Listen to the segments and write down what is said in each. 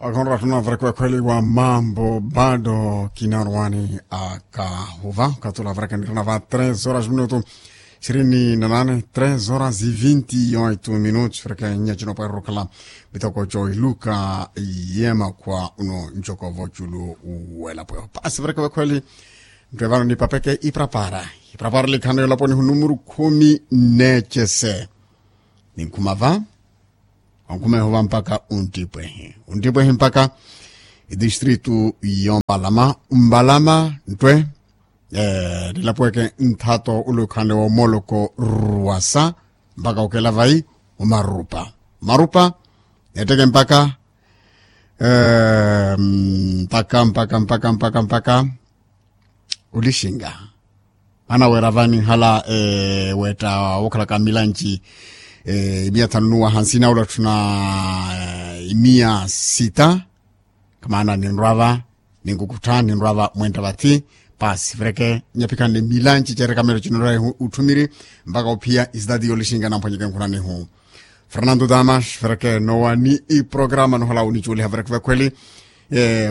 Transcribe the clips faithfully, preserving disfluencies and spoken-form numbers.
Akhonra tunavarakiwa khweliwa mambo bado kinarwani akahuva katula varakani tunava tres horas minutu ishirini na nane, tres horas e vinti e oitu minutu varakani nyachino pwarukala. Mitoko cho iluka yema kwa uno nchoko vochulu wela pwe pasi varakani vakhweli. Ntwe vano ni papeke iprapara iprapara likhano yolaponi hunumuru khumi nechese. Ninkhuma va onkhumeho va mpaka untipwehi untipwehi mpaka idistritu yo mbalama mbalama ntwe. Nilapweke nthato ulukhanle wa omoloko rwasa mpaka okela vai omarupa marupa. Netteke mpaka mpaka mpaka mpaka mpaka mpaka olixinga. Anawera vani hala wetta wokhalaka milanci imiya thanu nuwa hansi na ulatthuna imiya sita. Kamaana ninrwava ninkukuttha ninrwava mwenta vathi. Pasi vereke nyapikhanne milanci cerekamelo cinonrwa utthumiri mpaka ophiya isitati yolixinga namphwanyeke nkhunanihu. Fernando damas vereke nowa ni iprograma nohala wunicuuliha vereke vekhweli.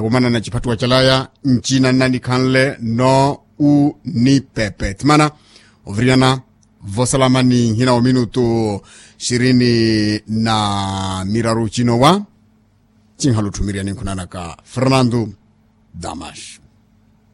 Womanana ciphattuwa calaya ncina nnanikhanle no wu ni pepe thimana oviriyana vosalamani nhina wa minutu ishirini na miraru cinowa. Cinhala otthumiriyani nkhunanaka fernando damas.